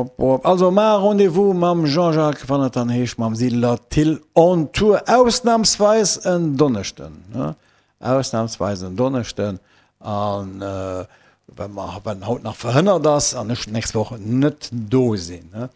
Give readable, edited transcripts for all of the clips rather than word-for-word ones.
Wop, wop. Also mar Rendez-vous mam Jean-Jacques, wann et dann heescht mam Siedler Thill on Tour, ausnahmsweis en Donneschden, ne? Ausnahmsweis en Donneschden. An well mer, well haut nach verhënnert ass an ech d'nächst Woch net do sinn, ne?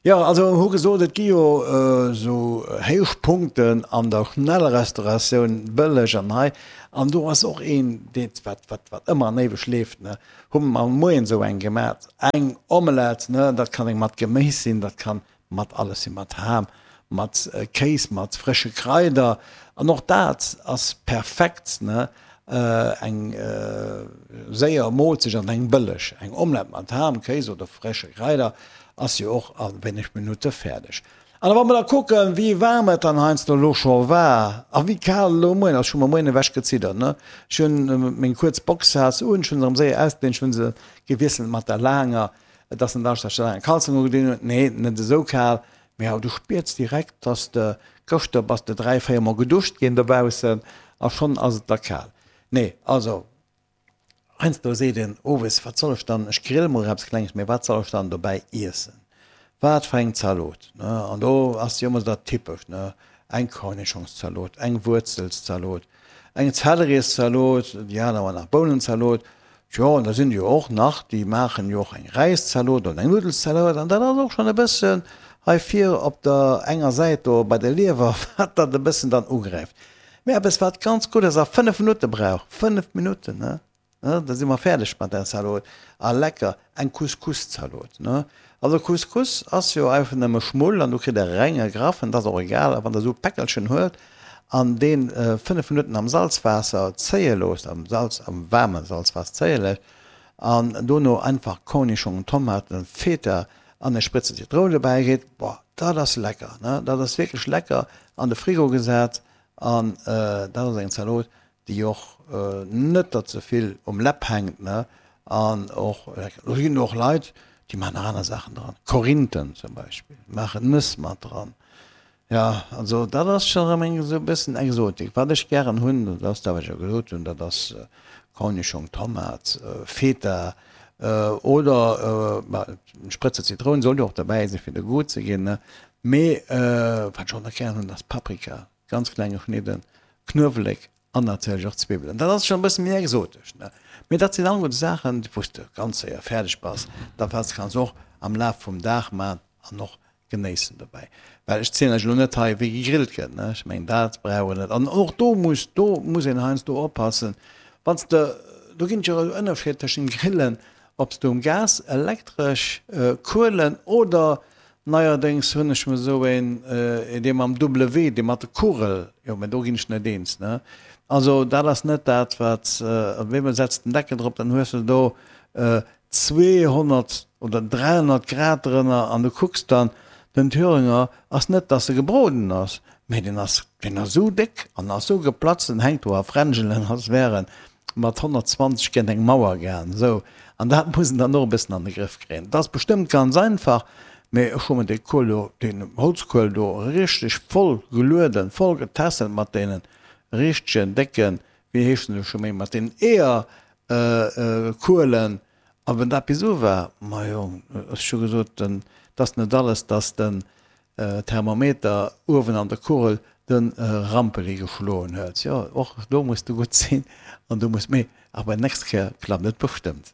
Jo, also hu gesot, et gi jo esou Héichpunkten an der Schnellrestauratioun, bëlleg an hei an do ass och een, dee wat, wat, wat ëmmer an éiweg leeft, ne? Hu mer moien esou eng gemat, eng Omelette, ne, dat kann eng mat Geméis sinn, dat kann mat alles sinn, mat Ham, mat Kéis, mat frësche Kraider an och dat ass perfekt, ne, eng séier Moolzecht an eng bëlleg. Eng Omelette mat Ham, Kéis oder frësche Kraider ass jo och a wéineg Minutte fäerdeg. An wa mer da kucken, wéi waarm et dann heiansdo elo scho war a wéi kal elo moien ass, ech hu mer moien ewech geziddert, ne, ech hunn meng kuerz Boxshas un, ech hunn se erëm séier ausgedinn, ech hunn se gewiesselt mat der laanger, Et ass net anescht, dass ech der laange Kalzong ugedinn hunn, nee, net esou kal, mee awer du spiers direkt, dass de, gëschter bass de 3, 4 mol geduscht ginn dobaussen a schonn ass et der kal. Nee, also heiansdo seet een owes, wat soll ech dann, ech grille mol eppes Klenges, mee wat soll ech dann dobäi iessen, wat fir eng Zalot, ne? An do ass jo ëmmer dat Typescht, ne, eng Kornischongszalot, eng Wuerzelszalot, eng Zellerieszalot, déi aner man nach Bounenzalot, Tjo, an da sinn jo och nach, déi maachen jo och eng Räiszalot oder eng Nuddelszalot an dat ass och schonn e bëssen hei vir op der enger Säit do bei der Liewer, wat dat e bëssen dann ugräift. Mee eppes wat ganz gutt ass a 5 Minutte brauch, 5 Minutten, ne, da si mer fäerdeg mat där Zalot a lecker, eng Couscous-Zalot, ne. Also Couscous ass jo einfach nëmme Schmull an do kritt der renge graffen, dat ass och egal, a wann der esou e Päckelchen huelt an deen 5 Minutten am Salzwaasser zéie loosst, am Salz, am waarme Salzwaasser zéie léisst an dono einfach Cornichongen, Tomaten, Feta an e Spritze Zitroun dobäi geet, boah, dat ass lecker, ne, dat ass wierklech lecker, an de Frigo gesat an dat ass eng Zalot, déi och net der ze vill um Läpp hänkt, ne, an och lecker. Do ginn och Leit, déi maachen nach aner Saachen dran, Korinthen zum Beispill, maachen Nëss mat dran. Jo, also dat ass scho erëm eng esou e bëssen Exotik. Wat ech gären hunn, dat ass dat, wat ech jo gesot hunn, dat ass Cornischong, Tomat, Feta oder eng Sprëtze Zitroun soll jo och derbäi sinn, fir de Goût ze ginn, ne. Mee wat ech och nach gären hunn, ass Paprika, ganz kleng geschnidden, Knuewelek an natierlech och Zwiwwelen. Dat ass schonn e bësse méi exotesch, ne. Mee dat sinn alleguerte Saachen, wou s de ganz séier fäerdeg bass. Dat kanns de och am Laf vum Dag maachen an och genéissen dobäi. Well ech zielen lech elo net hei, wéi gegrillt gëtt, ne, ech mengen, dat brauch een net. An och do muss, do muss een heiansdo oppassen, wann s de, do ginn et jo e Ënnerscheed tëschent Grillen, ob s de um Gas, elektresch, Kuelen oder neierdéngs hunn ech mer esou een, dee mam double W, dee mat de Kugel, jo, mä do ginn ech net eens, ne. Also dat ass net dat, wat, op eemol setz den Deckel drop, dann hues de do 200 oder 300 Grad drënner an du kucks dann, den Thüringer ass net dass e gebroden ass, mee deen ass deen ass esou déck an ass esou geplatzt, en hänkt do a Fränjelen als wär en mat 120 géint eng Mauer gaang esou an dat muss en dann och e bëssen an de Grëff kréien. Et ass bestëmmt ganz einfach, mee ech hu mer dee Kuel do, deen Holzkuel do richteg voll gelueden, voll getässelt mat deenen richtegen décken, wéi heeschen se scho méi, mat deenen Eeër Kuelen, a wenn dat bis u war, majo, ech hu gesot, 't ass net alles, dass den Thermometer uewen an der Kugel de Rampeli geschloen huet. Jo, och do muss de gutt sinn an du muss, mee awer nächst Kéier klappt et bestëmmt.